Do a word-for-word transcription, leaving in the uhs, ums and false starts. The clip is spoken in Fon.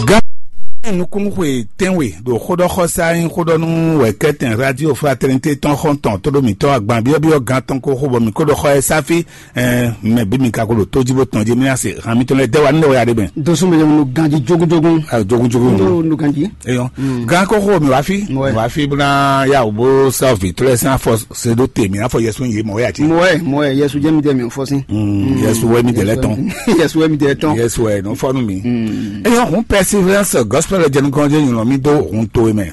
Gán nukúnxwe tɛ́nwe ɖo xóɖɔxɔsá nyí xóɖɔnú wɛ̌kɛ́tɛn Radio Fraternité tɔn xɔ́ntɔn tóɖómítɔn agban byɔ́byɔ́ gán tɔn ko xo bɔ mǐ ko ɖɔ xɔ ɛ sáfí. Ɛɛ mɛ bí mi ka ko ɖo tó jí bó tɔn jí mí ná se hàn mítɔn lɛ dɛ wa ní lɛ wɛ ya ɖe mɛ. Dosún bɛ nu ganji jogunjogun. Ayo jogunjogun. Ndo nu ganji. Eyɔn gán ko xo mi wá fí. Ouais. Wá fí bó ná yà wò bó sá vǐ tó lɛ sín afɔ se ɖó te mǐ afɔ yɛsùn yé mɔ wɛ àti. Mɔɛ mɔɛ yɛsu jẹ́ mi dɛ mi fɔ sí. Yɛsùn wɛ mi dɛ lɛ tɔn. Yɛsu wɛ mi dɛ tɔn. Yɛsùn wɛ nɔ fɔnu mi. Eyɔn hun Perseverance Gospel jɛnukɔnjɛ nyɔnɔ mi dó hun to mɛ.